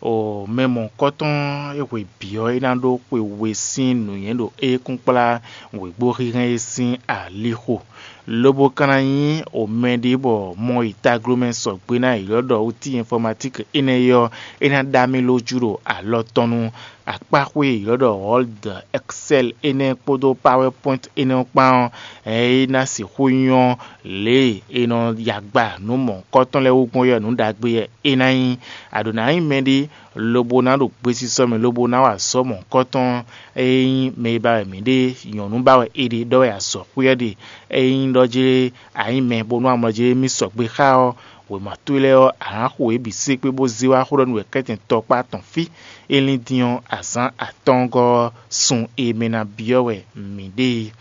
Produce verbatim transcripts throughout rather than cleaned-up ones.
O mɛ mɔ̌hunkɔtɔn e hwe bǐ ɔ́, é ná ɖó xwe we sín nǔnywɛ́ ɖo ékúnkplá wěgbóhínhɛ́n é sín alixo, lobo ka ná nyí o mɛɖé bɔ mɔ yi taglomɛ sɔgbe ná ylɔ́ ɖɔ outil informatique énɛ́ é ɔ́, é ná ɖa mì lójú ɖo alɔ tɔn nu. Akpáxwé e ylɔ́ ɖɔ Word, Excel énɛ́ kpódó PowerPoint énɛ́ ɔ́ kpán ɔ́, é ná sixú nyɔ́ lě e è nɔ ya agba nǔ mɔ̌hunkɔtɔn lɛ́ɛ wú gbɔn ɔ́, nǔ ɖagbe wɛ é ná nyí. A ɖǒ ná nyí mɛɖé lobo ná ɖo gbesisɔ mɛ lobo ná wa azɔ̌ mɔ̌hunkɔtɔn. Ényí mɛ e ba wɛ mǐ ɖe, nyɔ̌nu ba wɛ è ɖe, ɖɔ wɛ azɔ̌xwé ɔ́ ɖe. Ényí ɖɔ jlé a nyí mɛ bónú amlɔ jlé mì sɔgbe xá ɔ́, wěma towe lɛ́ɛ ɔ́, a nǎ xo yě bǐ sékpé bó zé wá xó ɖɔ nú wɛ kɛ́tɛn tɔkpá tɔn fí. É lín din ɔ́, azǎn atɔ́ɔ́ngɔ́ ɔ́, sun e mɛ ná byɔ́ wɛ mǐ ɖe é.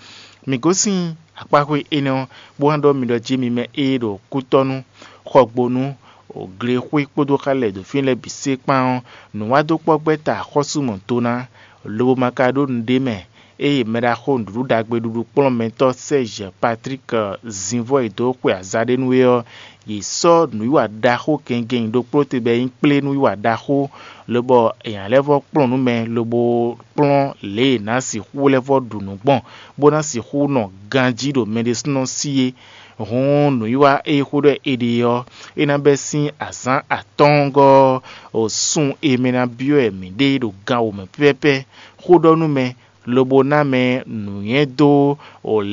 Mǐ gosín akpáxwé énɛ́ ɔ́, bó wá ɖɔ mi ɖɔ jí mi mɛ e ɖo kútɔ́nú, xɔgbónú, glexwé kpódó xá lɛ́ɛ ɖo fínɛ́ lɛ́ɛ bǐ sé kpán ɔ́, nǔwádókpɔ́gbɛ́ta axɔ́sú mɔ do ná, lobo ma ka ɖó nǔɖé mɛ. Ée mɛɖaxó nǔɖuɖu ɖagbe ɖuɖu kplɔ́nmɛtɔ́ Sɛ́zhɛ Patrík zǐnvɔ́ e dó xwe azǎ ɖé nú é ɔ́, yě sɔ́ nǔwiwa ɖaxó gɛngɛn ɖokpó te bɔ é nyí kplé nǔwiwa ɖaxó, lobɔ è nǎ lɛ́ vɔ́ kplɔ́n nǔ mɛ lobo kplɔ́n lě e è nǎ sixú lɛ́ vɔ́ ɖu nǔ gbɔn, bó ná sixú nɔ ganjí ɖo mɛ ɖésúnɔ sí é. Hǔn nǔwiwa e xó ɖɔ è ɖe ɔ́, é ná bɛ́ sín azǎn atɔ́ɔ́ngɔ́ ɔ́, sun e mɛ ná byɔ́ wɛ mǐ ɖe ɖo gan wǒ mɛ pɛ́pɛ́pɛ́. Xó ɖɔ nú mɛ, lobo ná mɛ nǔnywɛ́ dó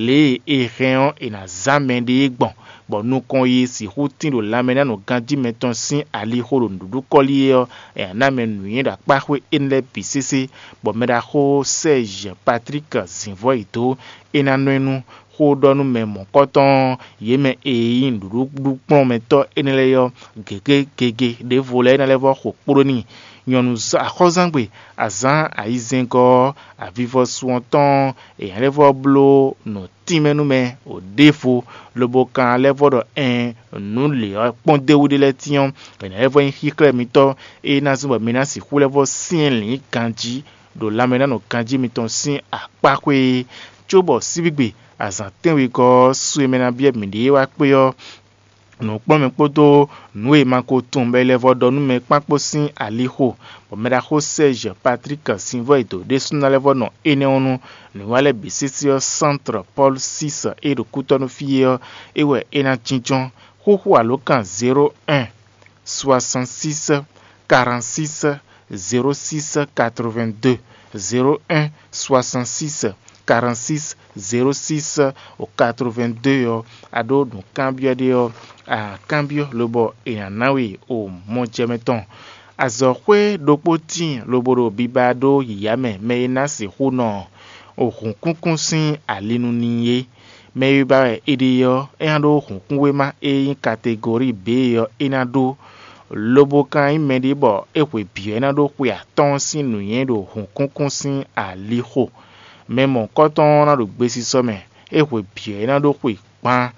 lě e è hɛn ɔ́, è nǎ zán mɛɖée gbɔn, bɔ nukɔn yi sixú tín ɖo lanmɛnánɔganjí mɛtɔn sín alixo ɖo nǔɖuɖu kɔ́lí é ɔ́, è nǎ ná mɛ nǔnywɛ́ ɖo akpáxwé énɛ́ lɛ́ɛ bǐ sésé, bɔ mɛɖaxó Sɛ́zhɛ Patrík zǐnvɔ́ yi dó, é ná nɔ ɛ nú xó ɖɔ nú mɛ mɔ̌kɔtɔn ɔ́, yě mɛ e nyí nǔɖuɖu kplɔ́nmɛtɔ́ énɛ́ lɛ́ɛ ɔ́, gěgé gege ɖěvo lɛ́ɛ é ná lɛ́ vɔ́ xo kpló n'i. Nyɔ̌nu axɔ́zángbè azǎn ayizɛ́ngɔ́ ɔ́, avivɔsu ɔ́ tɔn ɔ́, è nǎ lɛ́ vɔ́ bló nǔ tínmɛ nú mɛ ɖěvo, lobo ka lɛ́ vɔ́ ɖɔ ɛɛn, nǔ lě ɔ́ kpɔ́n d'é wú ɖé lɛ́ɛ tínnyɔ́, è nǎ lɛ́ vɔ́ nyí xíxlɛ́ mitɔ́ e ná zɔ́n bɔ mi ná sixú lɛ́ vɔ́ syɛ́n lǐn ganjí ɖo lanmɛnánɔganjí mitɔn sín akpáxwé é, cóbɔ síbígbe azǎn tɛ́nwegɔ́ ɔ́, su e mɛ ná byɔ́ mǐɖée wá kpé ɔ́, nǔkplɔ́nmɛ kpódó nǔ e ma ko tunwun bɔ è lɛ́ vɔ́ ɖɔ nú mɛ kpán kpó sín alixo, bɔ mɛɖaxó Sɛ́zhɛ Patrík Sinvɔ́ e dǒ ɖésú ná lɛ́ vɔ́ nɔ énɛ́ ɔ́ nu. Nǔwiwa lɛ́ɛ bǐ sésé ɔ́, Sántrɔ Pɔ́lu Sísɔ e ɖo kútɔ́ nú fí é ɔ́, é wɛ é ná jínjɔ́n. Xúxú alǒkan zéro un, soixante-six, quarante-six, zéro six, quatre-vingt-deux, zéro un, soixante-six, quarante-six, zéro six, quatre-vingt-deux ɔ́, a ɖó nǔkanbyɔ́ ɖé ɔ́, a kanbyɔ́ lobɔ è nǎ ná we o mɔ jɛ mɛ tɔn. Azɔ̌xwé ɖokpó tíin lobo ɖo biba ɖó yǐyá mɛ mɛ e ná sixú nɔ hǔnkúnkún sín ali nu n'i é. Mɛ e ba wɛ è ɖe ɔ́, é ná ɖó hǔnkúnwéma e nyí kategori B ɔ́, é ná ɖó, lobo ka nyí mɛɖé bɔ é hwe bǐ ɔ́, é ná ɖó xwe atɔ́ɔ́n sín nǔnywɛ́ ɖo hǔnkúnkún sín alixo. Mɛ mɔ̌kɔtɔn ɔ́ ná ɖo gbesisɔ mɛ, é hwe bǐ ɔ́, é ná ɖó xwe gbán.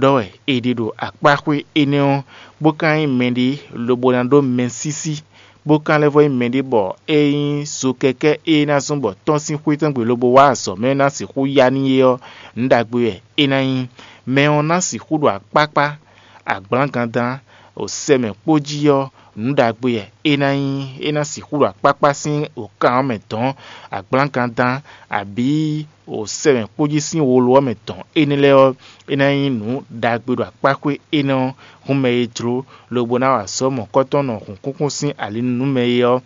Ɖɔ wɛ è ɖe ɖo akpáxwé énɛ́ ɔ́, bó ka nyí mɛɖé lobo ná ɖó mɛsísí, bó ka lɛ́ vɔ́ nyí mɛɖé bɔ é nyí zokɛkɛ́ e ná zɔ́n bɔ tɔ́n sín xwé tɔn gbe lobo wá azɔ̌ mɛ ná sixú ya n'i é ɔ́, nǔ ɖagbe wɛ é ná nyí. Mɛ ɔ́ ná sixú ɖo akpákpá, agblǎngandán, sɛ mɛ kpó jí ɔ́, nǔ ɖagbe wɛ é ná nyí. É ná sixú ɖo akpákpá sín wǒkan ɔ́ mɛ dɔ̌n, agblǎngandán, abǐ sɛ mɛ kpó jí sín wolo ɔ́ mɛ dɔ̌n énɛ́ lɛ́ɛ ɔ́, é ná nyí nǔ ɖagbe ɖo akpáxwé énɛ́ ɔ́, hǔn mɛ e jló lobo ná wa azɔ̌ mɔ̌kɔ́tɔn nɔ hǔnkúnkún sín ali nú mɛ e ɔ́,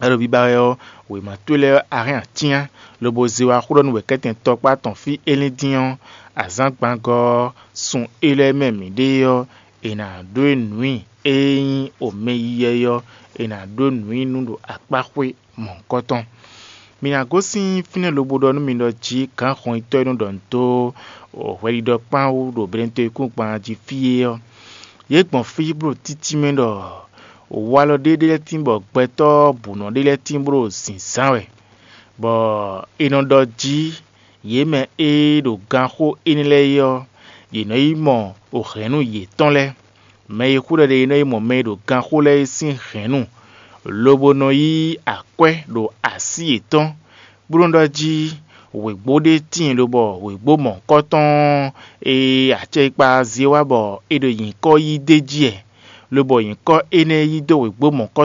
é ɖo biba wɛ ɔ́, wěma towe lɛ́ɛ ɔ́, a hɛn acyán, lobo zé wá xó ɖɔ nú wɛ̌kɛ́tɛn tɔkpá tɔn fí é lín dín ɔ́, azǎngbangɔ́ ɔ́, sun é lɛ́ɛ mɛ mǐ ɖe ɔ́, è nǎ ɖó e nǔ i é nyí omɛyíyɛ́ ɔ́, è nǎ ɖó nǔ i nú ɖo akpáxwé mɔ̌hunkɔtɔn. Mǐ ná gosín fínɛ́ lobo ɖɔ nú mi ɖɔ jí gǎn xɔnyitɔ́ e nɔ ɖɔ nǔ dó hwɛɖiɖɔ kpán wú ɖo Benɛtɔ́yíkúngban jí fí é ɔ́, yě gbɔn fí bó ɖo títí mɛ ɖɔ walɔ ɖé ɖé lɛ́ɛ tín bɔ gbɛtɔ́ bǔnɔ ɖé lɛ́ɛ tín bó ɖo zǐnzán wɛ, bɔ è nɔ ɖɔ jí yě mɛ e ɖo ganxó énɛ́ lɛ́ɛ é ɔ́, yě nɔ yi mɔ hɛ̌nnu yětɔn lɛ́ɛ. Mɛ e xú ɖɔ ɖe é nɔ yi mɔ mɛ e ɖo ganxó lɛ́ɛ é sín hɛ̌nnu, lobo nɔ yí akwɛ́ ɖo así yětɔn, bó nɔ ɖɔ jí wěgbó ɖé tíin lobɔ wěgbó mɔ̌hunkɔtɔn e acɛkpa zé wá bɔ è ɖo nyǐkɔ yí d'é jí wɛ, lobɔ nyǐkɔ énɛ́ yí dó wěgbó mɔ̌hunkɔtɔn